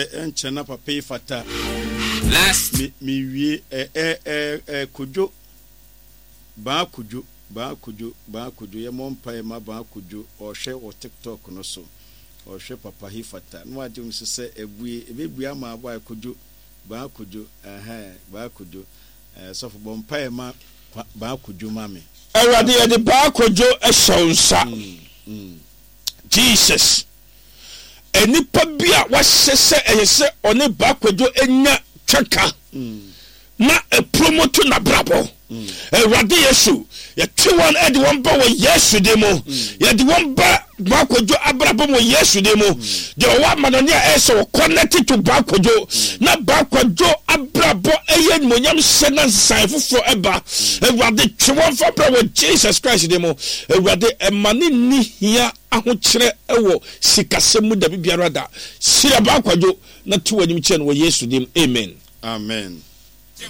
Ɛnkyɛ ɛnkyɛ na papa yi fata. Last. Me me wie ɛ ɛ ɛ ɛ Kojo Baa Kojo Baa Kojo Baa Kojo yɛ mɔ mpaeɛ ma Baa Kojo ɔhwɛ wɔ TikTok no so ɔhwɛ papa yi fata na wagye me so sɛ ɛbue ɛbɛbue ama abɔ ayɛ Kojo Baa Kojo ɛhɛn Baa Kojo ɛɛ sɔfo bɔ mpaeɛ ma Baa Kojo ma me. Awurade yɛde Baa Kojo hyɛ wo nsa Jesus. Nnipa bi a wahyɛ sɛ ɛyɛ sɛ ɔne Baa Kwadwo nya twaka na ɛpromoto n'abrabɔ. Awurade Yesu, yɛtwe wɔn de wɔn ba wɔ Yesu din mu. Yɛde wɔn ba Baa Kwadwo abrabɔ mu wɔ Yesu din mu. Deɛ ɔwɔ amanɔne a ɛyɛ sɛ ɔconnect to Baa Kwadwo na Baa Kwadwo abrabɔ ɛyɛ animuonyam hyɛ na nsesaeɛ foforɔ ɛba. Awurade twe wɔn fa bra wɔ Jesus Christ din mu. Awurade ɛma ne nni hia ahokyerɛ wɔ sikasɛm mu dabi biara da. Hyira Baa Kwadwo na to w'anim kyerɛ no wɔ Yesu din mu, amen. Amen.